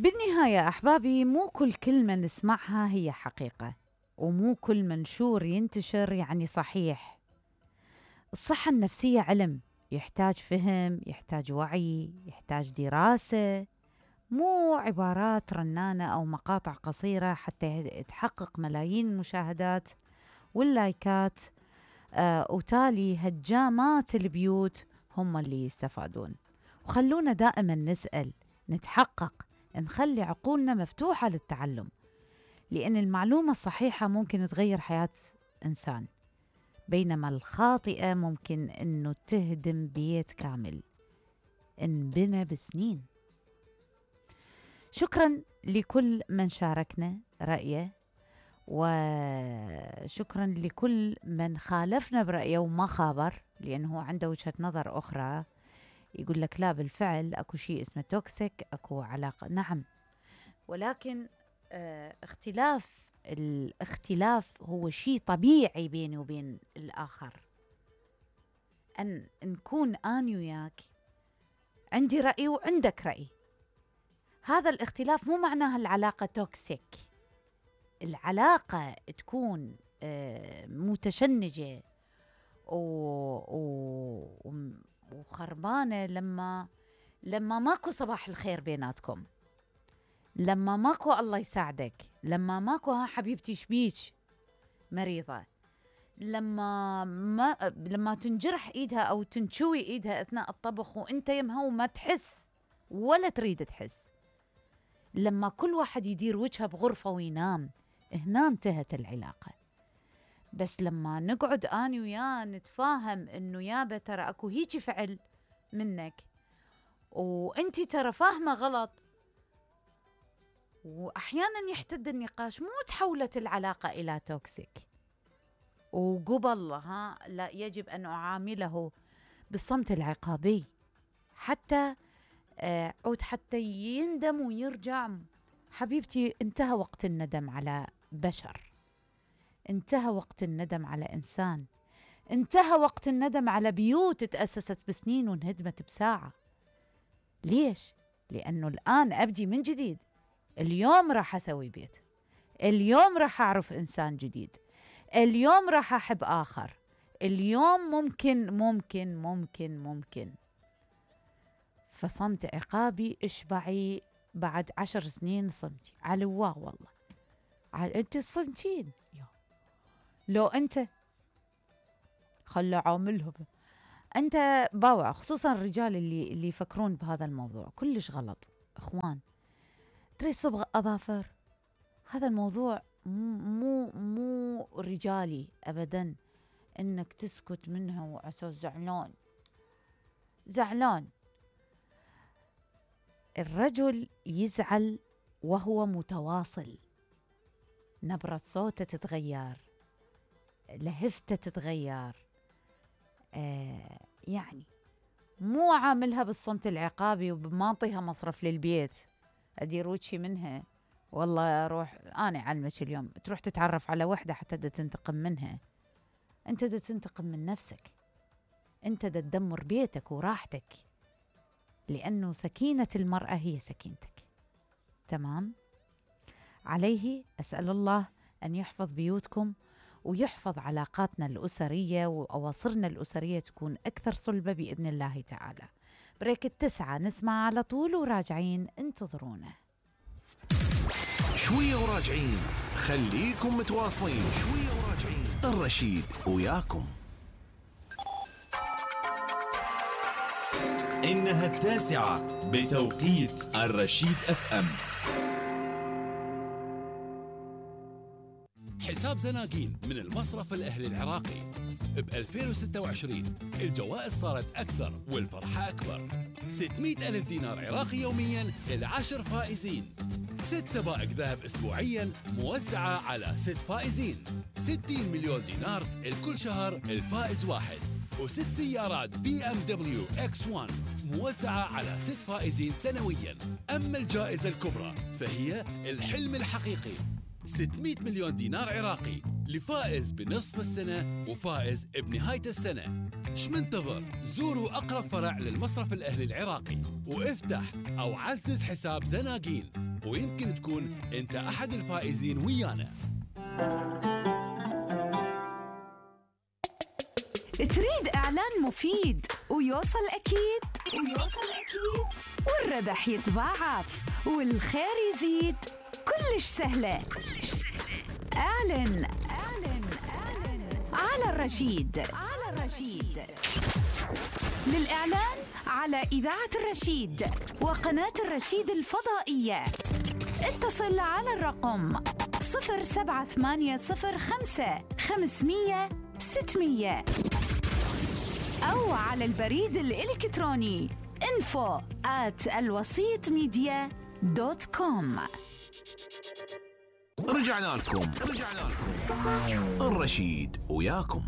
بالنهاية أحبابي، مو كل كلمة نسمعها هي حقيقة، ومو كل منشور ينتشر يعني صحيح. الصحة النفسية علم، يحتاج فهم، يحتاج وعي، يحتاج دراسة، مو عبارات رنانة أو مقاطع قصيرة حتى تحقق ملايين المشاهدات واللايكات. وتالي هجامات البيوت هم اللي يستفادون. وخلونا دائما نسأل، نتحقق، نخلي عقولنا مفتوحة للتعلم، لأن المعلومة الصحيحة ممكن تغير حياة إنسان، بينما الخاطئة ممكن أنه تهدم بيت كامل انبنى بسنين. شكرا لكل من شاركنا رأيه، وشكرا لكل من خالفنا برأيه وما خابر، لأنه عنده وجهة نظر أخرى، يقول لك لا بالفعل أكو شيء اسمه توكسيك، أكو علاقة. نعم، ولكن الاختلاف هو شيء طبيعي بيني وبين الآخر. أن نكون أنا وياك عندي رأي وعندك رأي، هذا الاختلاف مو معناها العلاقة توكسيك. العلاقة تكون متشنجة وخربانة لما ماكو صباح الخير بيناتكم، لما ماكو الله يساعدك، لما ماكو ها حبيبتي شبيك مريضة، لما تنجرح ايدها او تنشوي ايدها اثناء الطبخ وانت يمها وما تحس ولا تريد تحس، لما كل واحد يدير وجهه بغرفة وينام، هنا انتهت العلاقة. بس لما نقعد أنا وياه نتفاهم إنه يابا ترى أكو هيجي فعل منك وأنتي ترى فاهمة غلط، وأحيانا يحتد النقاش، مو تحولت العلاقة إلى توكسيك. وقبل لا، يجب أن أعامله بالصمت العقابي حتى عود حتى يندم ويرجع. حبيبتي، انتهى وقت الندم على بشر، انتهى وقت الندم على إنسان، انتهى وقت الندم على بيوت تأسست بسنين وانهدمت بساعة. ليش؟ لأنه الآن أبدي من جديد. اليوم راح أسوي بيت، اليوم راح أعرف إنسان جديد، اليوم راح أحب آخر، اليوم ممكن. فصمت عقابي اشبعي بعد 10 سنين صمتي على الله. والله انت الصمتين، لو انت خلى عاملها انت باوع، خصوصا الرجال اللي يفكرون بهذا الموضوع كلش غلط. اخوان، تريد صبغ اظافر، هذا الموضوع مو رجالي ابدا، انك تسكت منها وعساس زعلان. الرجل يزعل وهو متواصل، نبرة صوته تتغير، لهفته تتغير، يعني مو عاملها بالصمت العقابي وبماطيها مصرف للبيت، أدير وجهي منها والله أروح أنا أعلمك اليوم تروح تتعرف على وحدة حتى دا تنتقم منها. أنت دا تنتقم من نفسك، أنت دا تدمر بيتك وراحتك، لأنه سكينة المرأة هي سكينتك. تمام؟ عليه أسأل الله أن يحفظ بيوتكم ويحفظ علاقاتنا الأسرية وأواصرنا الأسرية تكون أكثر صلبة بإذن الله تعالى. بريك 9 نسمع على طول وراجعين، انتظرونا. شوية وراجعين، خليكم متواصلين. شوية وراجعين، الرشيد وياكم. إنها 9 بتوقيت الرشيد FM. حساب زناقين من المصرف الأهلي العراقي ب 2026 الجوائز صارت أكثر والفرحة أكبر. 600 ألف دينار عراقي يومياً ل10 فائزين، 6 سبائك ذهب أسبوعياً موزعة على 6 فائزين، 60 مليون دينار لكل شهر الفائز واحد، و6 سيارات BMW X1 موزعة على 6 فائزين سنوياً. أما الجائزة الكبرى فهي الحلم الحقيقي، 600 مليون دينار عراقي لفائز بنصف السنة وفائز بنهاية السنة. شمنتظر؟ زوروا أقرب فرع للمصرف الأهلي العراقي وافتح أو عزز حساب زناقين ويمكن تكون أنت أحد الفائزين ويانا. تريد إعلان مفيد ويوصل أكيد والربح يتضاعف والخير يزيد، كلش سهلة. اعلن على الرشيد. للإعلان على إذاعة الرشيد وقناة الرشيد الفضائية اتصل على الرقم 07805 500 600 أو على البريد الإلكتروني info@alwasitmedia.com. رجعنا لكم الرشيد وياكم.